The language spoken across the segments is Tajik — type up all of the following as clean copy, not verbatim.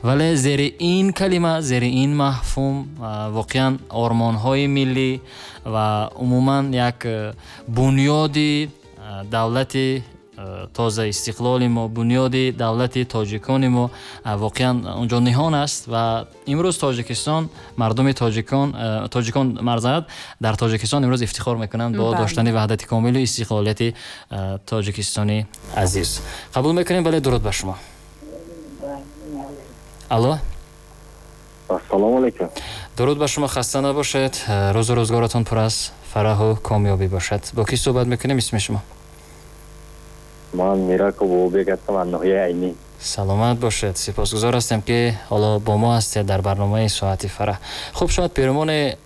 Вале зери ин калима, зери ин мафҳум воқеан ормонҳои миллӣ ва умуман як бунёди давлати тоза истиқлоли мо, бунёди давлати тоҷикони мо воқеан онҷо ниҳон аст ва имрӯз Тоҷикистон, мардуми тоҷикон марзад дар Тоҷикистон имрӯз ифтихор мекунанд бо доштани ваҳдати комилу истиқлолияти Тоҷикистони азиз. Қабул мекунем, бале, дуруд ба шумо. Алло. Ассалому алайкум. Дуруд ба шумо, хаста набошед, рӯзу рӯзгоратон пур аз фараҳу комёбӣ бошад. Бо кӣ суҳбат мекунем, исми шумо? Ман Мираков Бобобек ҳастам аз ноҳияи Айнӣ. Саломат бошед, сипосгузор ҳастем, ки ҳоло бо мо ҳастед дар барномаи соати фараҳ. Хуб, шояд перомони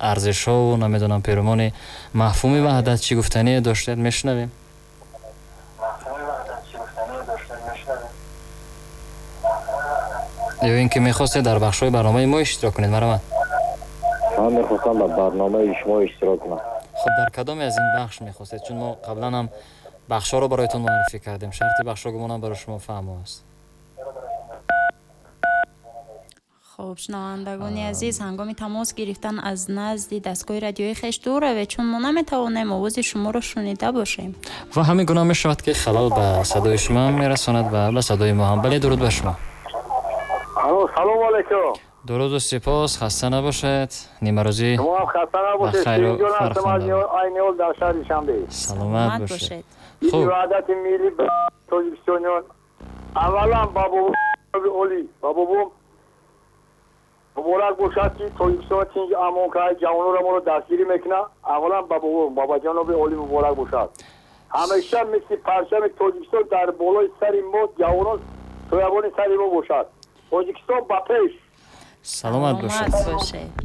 арзишҳову намедонам перомони мафҳуми ваҳдат чӣ гуфтание доштед, мешунавем. Ё ин ки мехостед дар бахшҳои барномаи мо иштирок кунед, марҳамат. Ман мехостам дар барномаи шумо иштирок кунам. Хуб, дар кадоме аз ин бахш мехостед? Чун мо қаблан ҳам бахшҳоро бароятон муаррифӣ кардем. Шарти бахшҳо гумонам барои шумо фаҳмо аст. Хуб, шунавандагони азиз, ҳангоми тамос гирифтан аз назди дастгоҳи радиои хеш дур равед, чун мо наметавонем овози шуморо шунида бошем. Ва ҳамин гуна мешавад, ки халал ба садои шумо ҳам мерасонад ва ба садои мо ҳам. Бале, дуруд ба шумо. Алло, салому алайкум. Дуруду сипос, хаста набошед. Нимарӯзӣ шумо ҳам хаста набошед. Ширинҷон ҳастам аз Айниҳол дар шаҳри Душанбе. Саломат бошед. Хуб, ваҳдати миллӣ ба тоҷикистониён аввалан ба бобои олӣ, ба бобом муборак бошад, ки Тоҷикистон тинҷ амон кард, ҷавононро моро дастгирӣ мекунад. Аввалан ба бобом, бобаҷаноби олӣ муборак бошад. Ҳамеша мисли парчами Тоҷикистон дар болои сари мо ҷавонон соябони сари мо бошад. Тоҷикистон ба пеш. Саломат бошед.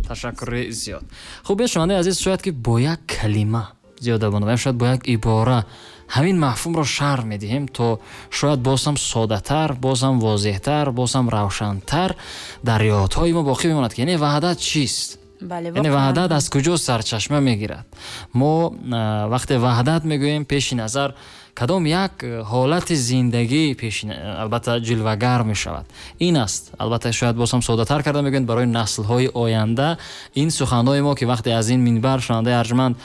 Ташаккури зиёд. Хуб, шунавандаи азиз, шояд ки бо як калима зиёда бонавем, шояд бо як ибора ҳамин мафҳумро шарҳ медиҳем, то шояд боз ҳам соддатар, боз ҳам возеҳтар, боз ҳам равшантар дар ёдҳои мо боқӣ мемонад, ки яъне ваҳдат чист? Яъне ваҳдат аз куҷо сарчашма мегирад? Мо вақте ваҳдат мегӯем, пеши назар кадом як ҳолати зиндагӣ пеши албатта ҷилвагар мешавад. Ин аст, албатта шояд боз ҳам соддатар карда мегӯем барои наслҳои оянда ин суханҳои мо, ки вақте аз ин минбар, шунавандаи арҷманд,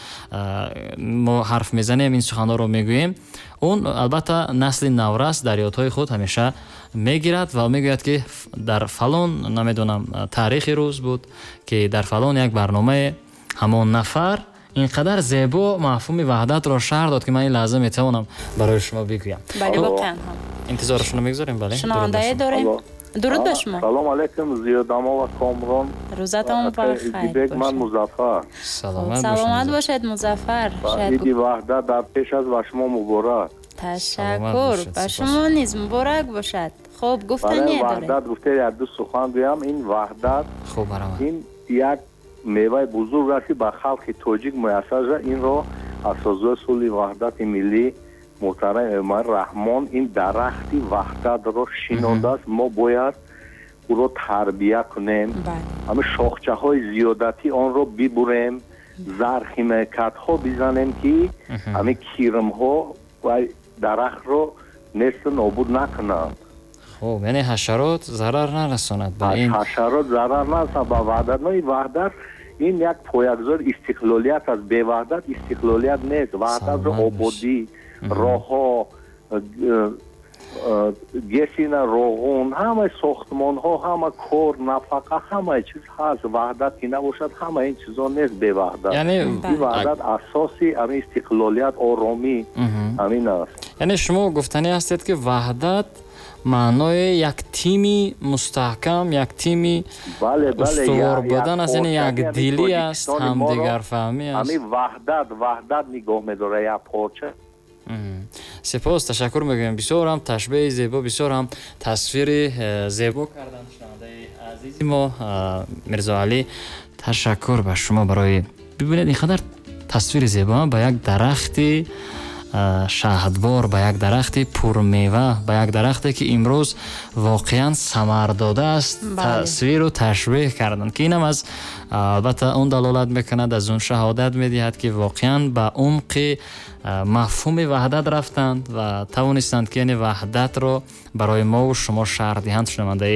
мо ҳарф мезанем, ин суханҳоро мегӯем, он албатта насли наврас дар ёдҳои худ ҳамеша мегирад ва мегӯяд, ки дар фалон намедонам таърихи рӯз буд, ки дар фалон як барномаи ҳамон нафар ин қадар зебо мафҳуми ваҳдатро шарҳ дод, ки ман ин лаҳза метавонам барои шумо бигӯям. Бале, воқеан ҳам. Интизорашонро мегузорем, бале. Шунавандае дорем. Дуруд ба шумо. Салом алайкум, Зиёдамо ва Комрон. Рӯзатон ба хайр бошад. Ман Музаффар. Саломат бошед, Музаффар. Иди ваҳдат дар пеш аст, ба шумо муборак. Ташаккур, ба шумо низ муборак бошад. Хуб, гуфтание доред. Ваҳдат гуфте як ду сухан гӯям. Ин ваҳдат ин як меваи бузург аст, ки ба халқи тоҷик муяссар шуд. Инро асосгузори сулҳи ваҳдати миллӣ муҳтарам Эмомалӣ Раҳмон ин дарахти ваҳдатро шинондааст. Мо бояд ӯро тарбия кунем, ҳамин шохчаҳои зиёдатӣ онро бибурем, зархимикатҳо бизанем, ки ҳамин кирмҳо ва дарахтро несту нобуд накунанд. Хуб, яъне ҳашарот зарар нарасонад ба ин. Ҳашарот зарар нарасонад ба ваҳдат. Ин ваҳдат ин як поягузори истиқлолият аст. Бе ваҳдат истиқлолият нест. Ваҳдатро ободӣ, роҳҳо, гесина, роғун, ҳамаи сохтмонҳо, ҳама кор, нафақа, ҳамаи чиз ҳаст. Ваҳдат ки набошад, ҳамаи ин чизо нест бе ваҳдат. Ин ваҳдат асоси ҳамин истиқлолият, оромӣ ҳамин аст. Яъне шумо гуфтанӣ ҳастед, ки ваҳдат маънои як тими мустаҳкам, як тими устувор будан аст, яъне якдилӣ аст, ҳамдигарфаҳмӣ аст. Ҳамин ваҳдат нигоҳ медорад як порча. Сипос, ташаккур мегӯем. Бисёр ҳам ташбеҳи зебо, бисёр ҳам тасвири зебо карданд шунавандаи азизи мо Мирзоалӣ. Ташаккур ба шумо барои бибинед ин қадар тасвири зебо ба як дарахти шаҳдбор, ба як дарахти пурмева, ба як дарахте ки имрӯз воқеан самар додааст, тасвиру ташбеҳ карданд, ки инам аз албатта он далолат мекунад, аз он шаҳодат медиҳад, ки воқеан ба умқи мафҳуми ваҳдат рафтанд ва тавонистанд, ки яъне ваҳдатро барои мову шумо шарҳ диҳанд. Шунавандаи